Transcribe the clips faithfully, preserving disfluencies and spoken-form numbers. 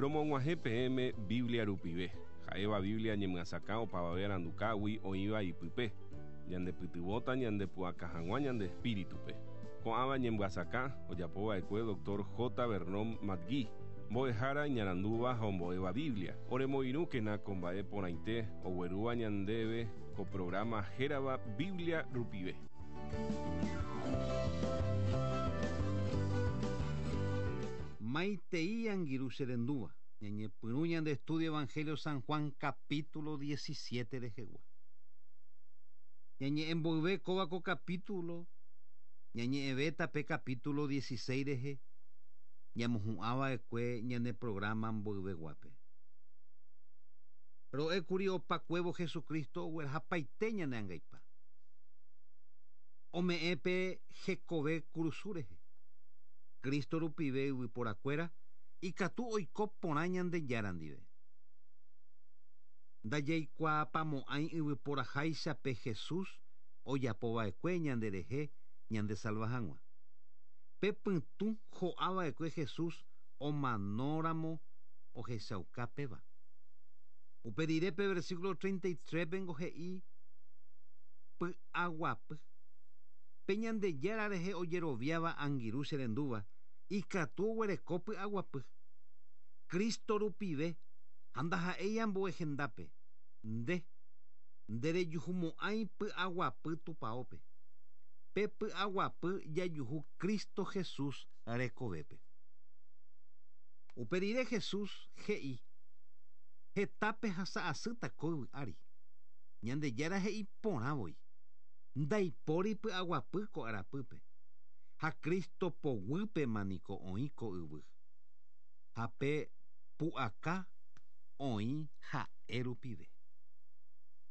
Romog̃uahẽ peẽme Biblia rupive. Ha'éva Biblia ñemyasakã opavave arandukágui oĩva ipype. Ñandepytyvõta ñandepu'aka hag̃ua ñande espíritupe. Ko'ãva ñemyasakã ojapova'ekue doctor J. Vernon McGee, mbo'ehára iñarandúva ha ombo'éva Biblia. Oremoirũkena ko mba'e porãite oguerúva ñandéve ko programa hérava Biblia rupive. Maitei angirũ cherendúva, ñañepyrũ ñande estudio Evangelio San Juan capítulo diecisiete rehegua. Ñañe'ẽmboyve kóva ko capítulo, ñañe'ẽvéta pe capítulo dieciséis rehe, ñamohu'ãva'ekue ñane programa mboyveguápe. Ro'ékuri opakuévo Jesucristo oguerahapaite ñane angaipa. Ome'ẽpe hekove kurusu rehe. Cristo rupive yvyporakuéra ikatu oiko porã Ñandejára ndive. Ndajaikuaapamo'ãi yvyporaháichape Jesús ojapova'ekue ñanderehe ñandesalva hag̃ua. Pe pytũ ho'ava'ekue Jesús omanóramo ohechaukápeva. Upe rire pe versículo treinta y tres pengo he'i py'aguapy. Pe Ñandejára rehe ojeroviáva angirũ cherendúva ikatu oguereko py'aguapy. Cristo rupive ha ndaha'éi ambue hendápe. Nde nderejuhumo'ãi py'aguapy tupãópe. Pe py'aguapy jajuhu Cristo Jesús rekovépe. Upe rire Jesús he'i hetápe hasa'asýta ko yvy ári. Ñandejára he'i porãvoi. Ndaipóri py'aguapy ko arapýpe. Ha Cristo poguýpe maniko oĩ ko yvy. Ha pe pu'aka oĩ ha'e rupive.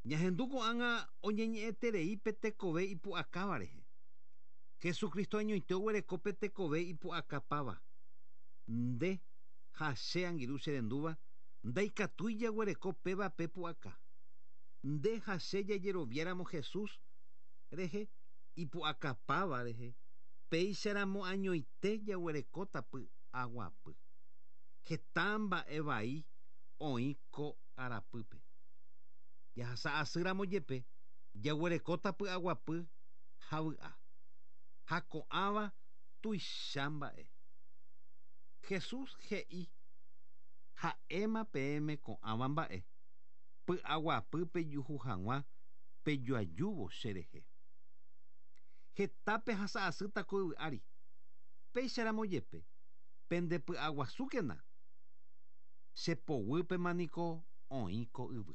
Ñahendu ko'ág̃a oñeñe'ẽterei pe tekove ipu'akáva rehe. Jesucristo añoite oguereko pe tekove ipu'akapáva. Nde ha che angirũ cherendúva ndaikatúi jaguereko péva pe pu'aka. Nde ha che jajeroviáramo Jesús rehe ipu'akapáva rehe péicharamo añoite jaguerekóta py'aguapy. Heta mba'e vai oĩ ko arapýpe. Jahasa'asýramo jepe jaguerekóta py'aguapy ha vy'a. Ha ko'ãva tuicha mba'e. Jesús he'i ha'éma peẽme ko'ãva mba'e py'aguapy pejuhu hag̃ua pejoajúvo cherehe. Hetápe hasa'asýta ko yvy ári. Péicharamo jepe pendepy'aguasúkena. Chepoguýpe maniko oĩ ko yvy.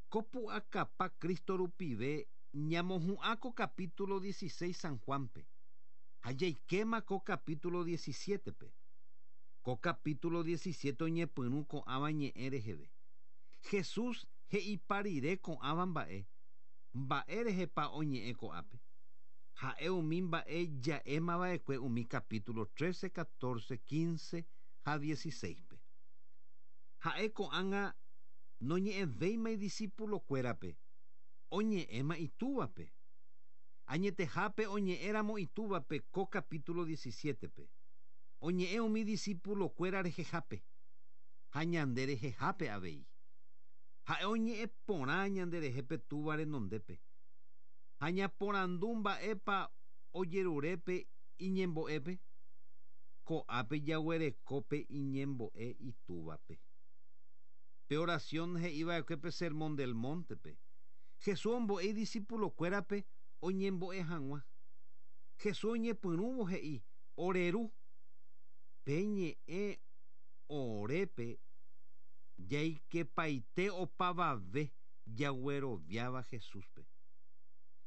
Ko pu'akapa Cristo rupive ñamohu'ã ko capítulo dieciséis San Juanpe. Ha jaikéma ko capítulo diecisiete-pe. Ko capítulo diecisiete oñepyrũ ko'ãva ñe'ẽ reheve. Jesús he'ipa rire ko'ãva mba'e. Mba'e rehepa oñe'ẽ ko'ápe. Ha'e umi mba'e ja'émava'ekue umi capítulo trece, catorce, quince ha dieciséis-pe. Ha'e ko'ág̃a noñe'ẽvéima idiscípulokuérape, oñe'ẽma itúvape. Añetehápe oñe'ẽramo itúvape ko capítulo diecisiete-pe. Oñe'ẽ umi discípulokuéra rehehápe ha ñande rehehápe avei. Ha'e oñe'ẽ porã ñanderehe pe túva renondépe. Ha ñaporandu mba'épa ojerurépe iñembo'épe. Ko'ápe jaguerekópe iñembo'e itúvape. Pe oración he'iva'ekue pe Sermón del Monte-pe. Jesús ombo'e idiscípulokuérape oñembo'e hag̃ua. Jesús oñepyrũvo he'i oreru pe ñe'ẽ orépe jaikepaite opavave jagueroviáva Jesúspe.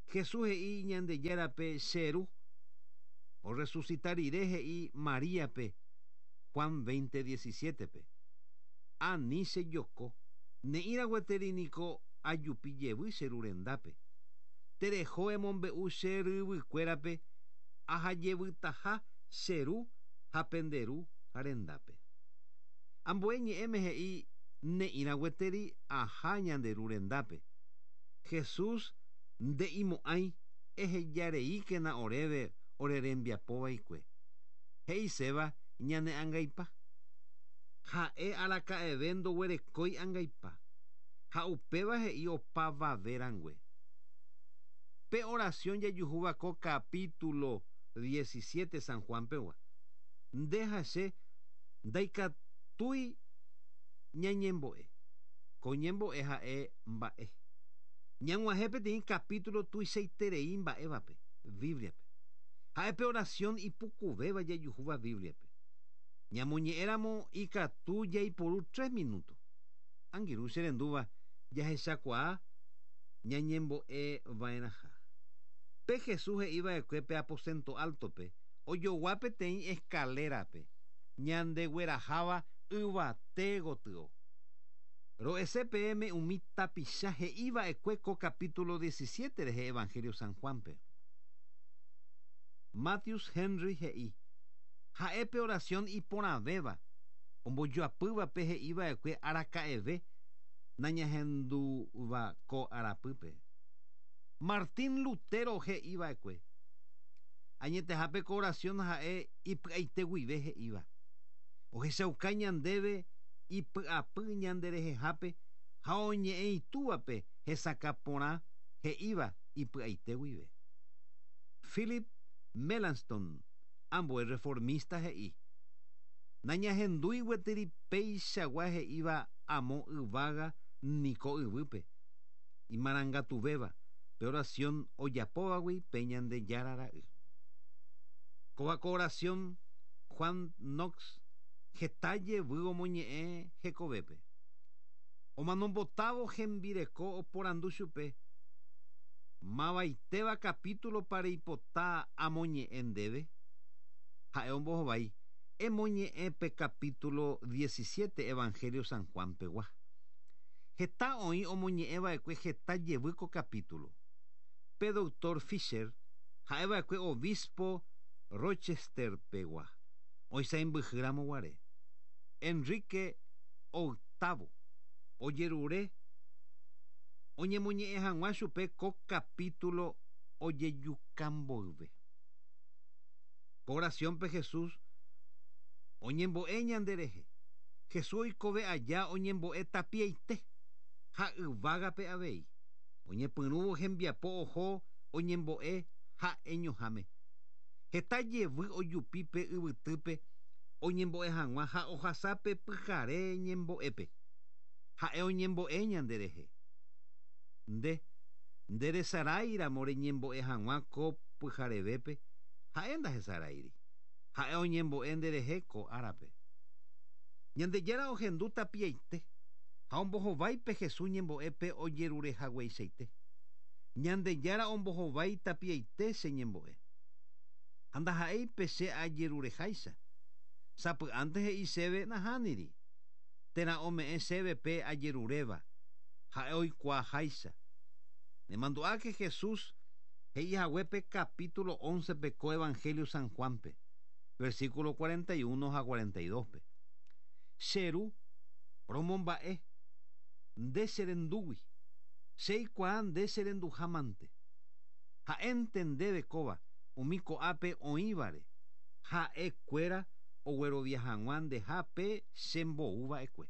Jesús he'i Ñandejárape cheru. Orresucita rire he'i Maríape Juan veinte diecisiete-pe. Ani chejoko ne'ĩra gueteri niko ajupi jevy cheru rendápe. Tereho emombe'u che ryvykuérape ahajevytaha cheru ha penderu ha rendápe. Ambue ñe'ẽme he'i ne'ĩra gueteri aha ñanderu rendápe. Jesús nde'imo'ãi ehejareíkena oréve orerembiapovaikue. He'iséva ñane angaipa. Ha'e araka'eve ndoguerekói angaipa. Ha upéva he'i opavave rangue. Pe oración jajuhúva ko capítulo diecisiete San Juan pegua. Nde ha che ndaikatúi ñañembo'e. Ko ñembo'e ha'e mba'e. Ñag̃uahẽ peteĩ capítulo tuichaiterei mba'évape, Bibliape. Ha'e pe oración ipukuvéva jajuhúva Bibliape. Ñamoñe'ẽramo ikatu jaiporu tres minutos. Angirũ che rendúva jahechakuaa ñañembo'e va'erãha. Pe Jesús he'iva'ekue pe aposento altope ojogua peteĩ escalerape ñandegueraháva yvate gotyo. Ro'ese peẽme umi tapicha he'iva'ekue ko capítulo diecisiete rehe Evangelio San Juanpe. Matthews Henry he'i ha'e pe oración iporãvéva ombojoapývape he'iva'ekue araka'eve nañahendúva ko arapýpe. Martín Lutero he'iva'ekue añetehápe ko oración ha'e ipy'aite guive he'íva. Ohechauka ñandéve ipy'apy ñanderehehápe ha oñe'ẽ itúvape hesakã porã he'íva ipy'aite guive. Philip Melanchthon, ambue reformista he'i nañahendúi gueteri péichagua he'íva amo yvága niko yvýpe imarangatuvéva pe oración ojapóvagui pe Ñandejára ra'y. Kóva ko oración Juan Knox heta jevy omoñe'ẽ hekovépe. Omanombotávo hembireko oporandu chupe mavaitéva capítulo pareipota amoñe'ẽ ndéve. Ha'e ombohovái emoñe'ẽ pe capítulo diecisiete Evangelio San Juan pegua. Heta oĩ omoñe'ẽva'ekue heta jevy ko capítulo. Pe doctor Fisher ha'eva'ekue obispo Rochester pegua oisãmbyhýramo guare. Enrique octavo ojerure oñemoñe'ẽ hag̃ua chupe ko capítulo ojejukamboyve. Ko oraciónpe Jesús oñembo'e ñanderehe. Jesús oikove aja oñembo'e tapiaite ha yvágape avei. Oñepyrũvo hembiapo oho oñembo'e ha'eñoháme. Heta jevy ojupi pe yvytýpe oñembo'e hag̃ua ha ohasápe pyhare ñembo'épe. Ha'e oñembo'e ñanderehe. Nde nderesaráiramo reñembo'e hag̃ua ko pyharevépe ha'e ndahesaráiri. Ha'e oñembo'e nderehe ko árape. Ñandejára ohendu tapiaite ha ombohováipe Jesús ñembo'épe ojerurehagueichaite. Ñandejára ombohovái tapiaite che ñembo'e. Ha ndaha'éipe che ajerureháicha. Sapy'ánte he'i chéve nahániri. Térã ome'ẽ chéve pe ajeruréva. Ha'e oikuaaháicha. Nemandu'áke Jesús he'ihaguépe capítulo once pe ko Evangelio San Juanpe, versículo cuarenta y uno ha cuarenta y dos pe. Che ru romomba'e nde cherendúgui. Che aikuaa nde cherenduhámante. Ha'énte ndéve kóva umi ko'ápe oĩvare. Ha'ekuéra oguerovia hag̃ua ndehápe chemboúva'ekue.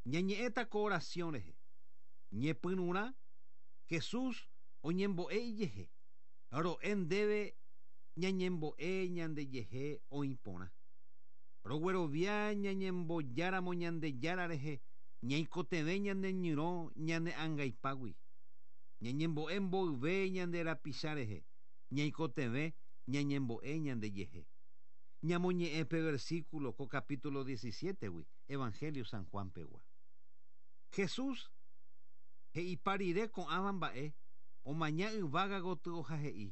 Ñañe'ẽta ko oración rehe. Ñepyrũrã Jesús oñembo'e ijehe. Ro'e ndéve ñañembo'e ñandejehe oĩporã. Roguerovia ñañembojáramo Ñandejára rehe ñaikotevẽ ñaneñyrõ ñane angaipágui. Ñañembo'e mboyve ñande rapicha rehe ñaikotevẽ ñañembo'e ñandejehe. Ñamoñe'ẽ pe versículo ko capítulo diecisiete gui Evangelio San Juan pegua. Jesús he'ipa rire ko'ãva mba'e omaña yvága gotyo ha he'i